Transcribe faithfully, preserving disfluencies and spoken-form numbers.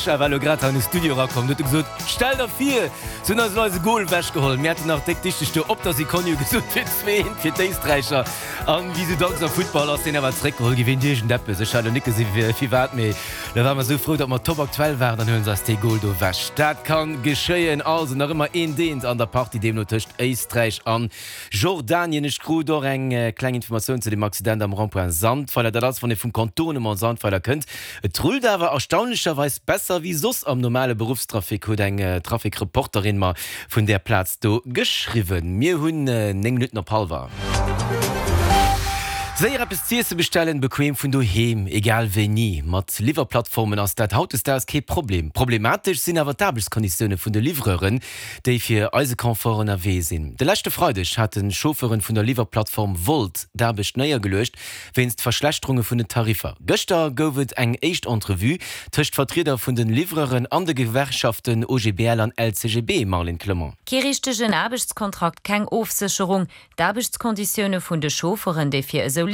Sascha war lo grad an de Studio erakomm, huet e gesot, Stell der vir, se hunn eis elo eise Gol ewechgeholl. Mir haten nach déck dichteg do op der Sekonn jo gesot, fir zwee eent fir d'Éisträicher. An wéi sou dacks am Futtball ass deen awer zeréckgeholl gi wéint iergendeppes. Ech hat elo nik gesi firwat, mee da ware mer sou frou, datt mer top aktuell waren, dann huele se eis dee Gol do ewech. Dat kann geschéien. Also nach ëmmer eent eent an der Partie deemno tëscht Éisträich an Jordanien. Ech krut och eng kleng Informatioun zu dem Accident am Rond-point Sandweiler. Dat ass, wann ee vum Contournement Sandweiler kënnt. Et rullt awer erstaunlecherweis besser wéi soss am normale Beruffstrafic, huet eng Trafic-Reporterin mer vun där Plaz do geschriwwen. Mir hunn néng Minutten op hallwer. Séier eppes z'iesse bestellen, bequem vun doheem, egal wéini. Mat Liwwerplattformen ass dat hautdesdaags kee Problem. Problematesch sinn awer d'Aarbechtskonditioune vun de Livreuren, déi fir eise Confort ënnerwee sinn. De leschte Freideg haten Chauffeuren vun der Liwwerplattform Wolt d'Aarbecht néiergeluecht, wéinst Verschlechterunge vun den Tariffer. Gëschter gouf et eng éischt Entrevue tëscht Vertrieder vun de Livreuren an de Gewerkschaften O G B L an L C G B, Marlène Clement. Kee richtegen Aarbechtskontrakt, keng Ofsécherung, D'Aarbechtskonditioune vun de Chaufferen, déi fir esou Liwwerplattforme